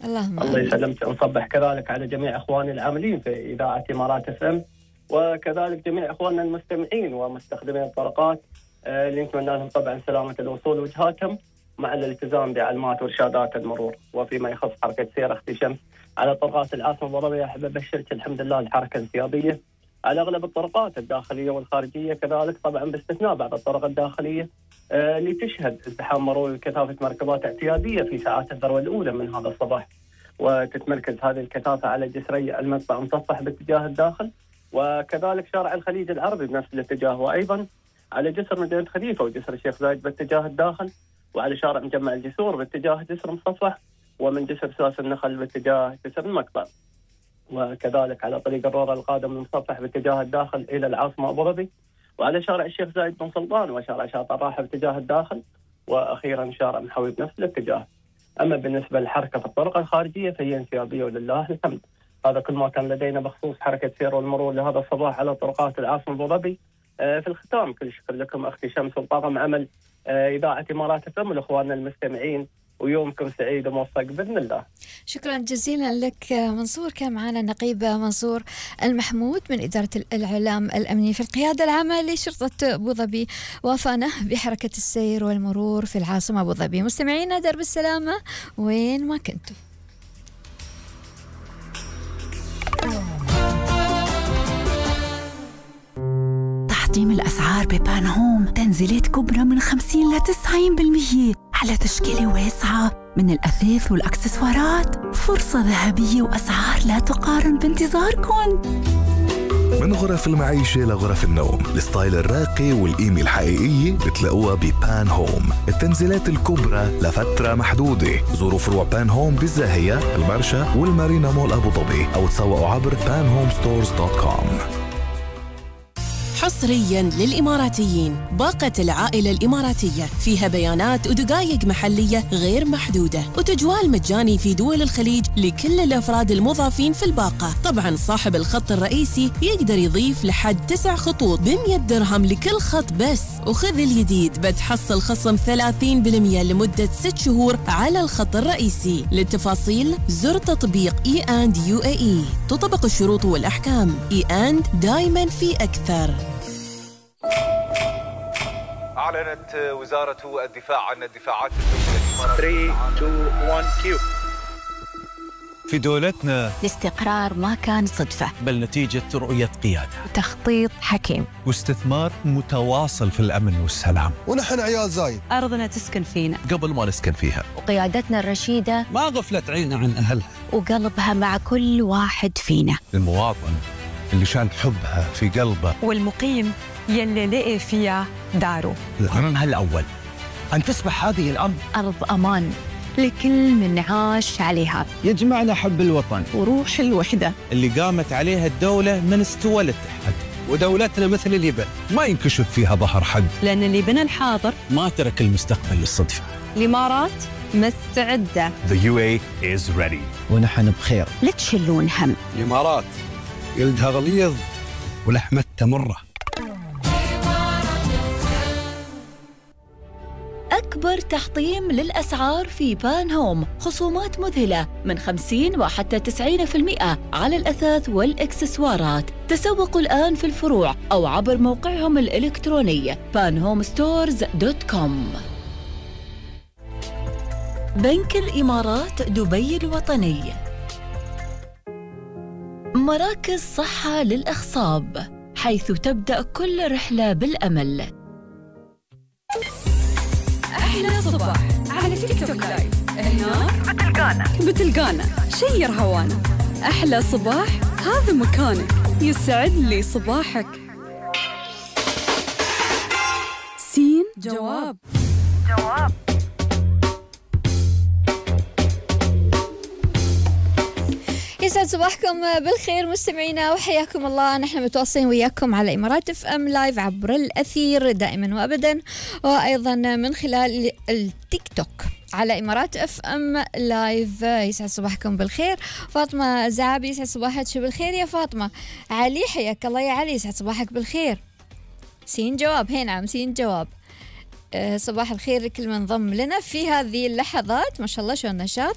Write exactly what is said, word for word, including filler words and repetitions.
اللهم الله يسلمك. نصبح كذلك على جميع اخواني العاملين في اذاعه امارات اف ام، وكذلك جميع اخواننا المستمعين ومستخدمين الطرقات اللي نتمنى لهم طبعا سلامه الوصول وجهاتهم مع الالتزام بعلامات وارشادات المرور. وفيما يخص حركه سير اختي شمس على طرقات العاصمه الضبابيه، احب ابشرك الحمد لله الحركه انسيابيه على اغلب الطرقات الداخليه والخارجيه، كذلك طبعا باستثناء بعض الطرق الداخليه آه اللي تشهد ازدحام مرور كثافه مركبات اعتياديه في ساعات الذروه الاولى من هذا الصباح، وتتمركز هذه الكثافه على جسري المدفع مصفح باتجاه الداخل، وكذلك شارع الخليج العربي بنفس الاتجاه، وايضا على جسر مدينه خليفه وجسر الشيخ زايد باتجاه الداخل، وعلى شارع مجمع الجسور باتجاه جسر مصفح، ومن جسر سلاس النخل باتجاه جسر المقطع، وكذلك على طريق الرورة القادم من مصفح باتجاه الداخل الى العاصمه ابو ظبي، وعلى شارع الشيخ زايد بن سلطان وشارع شاطئ الراحه باتجاه الداخل، واخيرا شارع محوي بنفس الاتجاه. اما بالنسبه للحركه في الطرق الخارجيه فهي انسيابيه ولله الحمد. هذا كل ما كان لدينا بخصوص حركه سير والمرور لهذا الصباح على طرقات العاصمه ابو ظبي. آه في الختام كل شكر لكم اختي شمس وطاقم عمل آه اذاعه امارات اف ام ولاخواننا المستمعين، ويومكم سعيد وموفق باذن الله. شكرا جزيلا لك منصور. كان معنا نقيب منصور المحمود من إدارة الإعلام الأمني في القيادة العامة لشرطة أبو ظبي، وافانا بحركة السير والمرور في العاصمة أبو ظبي. مستمعينا درب السلامة وين ما كنتم. تحطيم الأسعار ببان هوم، تنزيلات كبرى من خمسين لتسعين بالمية على تشكيلة واسعة من الأثاث والأكسسوارات. فرصة ذهبية وأسعار لا تقارن بانتظاركم. من غرف المعيشة لغرف النوم، الستايل الراقي والقيمة الحقيقية بتلاقوها ببان هوم. التنزيلات الكبرى لفترة محدودة. زوروا فروع بان هوم بالزاهية، المرشا والمارينا مول أبو ظبي، أو تسوقوا عبر بان هوم ستورز دوت كوم. حصرياً للإماراتيين، باقة العائلة الإماراتية فيها بيانات ودقائق محلية غير محدودة، وتجوال مجاني في دول الخليج لكل الأفراد المضافين في الباقة. طبعاً صاحب الخط الرئيسي يقدر يضيف لحد تسع خطوط بمية درهم لكل خط بس. وخذ الجديد، بتحصل خصم ثلاثين بالمية لمدة ست شهور على الخط الرئيسي. للتفاصيل زر تطبيق إي أند يو إيه إي. تطبق الشروط والأحكام. إي أند دايماً في أكثر. أعلنت وزارة الدفاع عن الدفاعات الدولية. ثلاثة اثنين واحد كيو. في دولتنا الاستقرار ما كان صدفة، بل نتيجة رؤية قيادة وتخطيط حكيم واستثمار متواصل في الأمن والسلام. ونحن عيال زايد، أرضنا تسكن فينا قبل ما نسكن فيها، وقيادتنا الرشيدة ما غفلت عيننا عن أهلها، وقلبها مع كل واحد فينا. المواطن اللي شان حبها في قلبه، والمقيم يلي لقي فيها داره. الأمر الأول أن تصبح هذه الأرض أرض أمان لكل من عاش عليها. يجمعنا حب الوطن وروح الوحدة اللي قامت عليها الدولة من استوى الاتحاد. ودولتنا مثل الليبن ما ينكشف فيها ظهر حق، لأن اللي بنى الحاضر ما ترك المستقبل للصدفة. الإمارات مستعدة. The يو إيه is ready. ونحن بخير. لا تشلون هم. الإمارات جلدها غليظ ولحمتها مرة. أكبر تحطيم للأسعار في بان هوم، خصومات مذهلة من خمسين وحتى تسعين بالمئة على الأثاث والإكسسوارات. تسوقوا الآن في الفروع أو عبر موقعهم الإلكتروني بان هوم ستورز دوت كوم. بنك الإمارات دبي الوطني. مراكز صحة للأخصاب، حيث تبدأ كل رحلة بالأمل. أحلى صباح على تيك توك لايف. هنا بتلقانا بتلقانا شير هوانا. أحلى صباح هذا مكانك، يسعد لي صباحك. سين جواب جواب يسعد صباحكم بالخير مستمعينا وحياكم الله. نحن متواصلين وياكم على إمارات اف ام لايف عبر الأثير دائما وأبدا، وأيضا من خلال التيك توك على إمارات اف ام لايف. يسعد صباحكم بالخير. فاطمة زعابي يسعد صباحك بالخير يا فاطمة. علي حياك الله يا علي، يسعد صباحك بالخير. سين جواب، هنا نعم سين جواب. أه صباح الخير لكل من ضم لنا في هذه اللحظات. ما شاء الله شو النشاط.